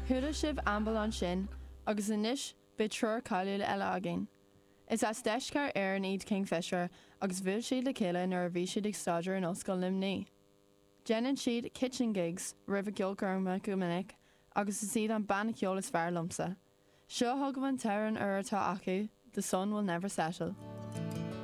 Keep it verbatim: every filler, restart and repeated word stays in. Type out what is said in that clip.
Chuala sibh Amble ansin agus anois beidh triúr cáiliúil eile againn. Is as deisceart Éireann iad Kingfisher agus bhuail siad le chéile nuair a bhí siad ag staidéar in Ollscoil Luimnigh. Déanann siad kitchen gigs roimh a gceolchoirmeacha go minic agus is iad an banna ceoil is fearr liomsa. Seo chugaibh an t-amhrán úr atá acu, The Sun Will Never Settle.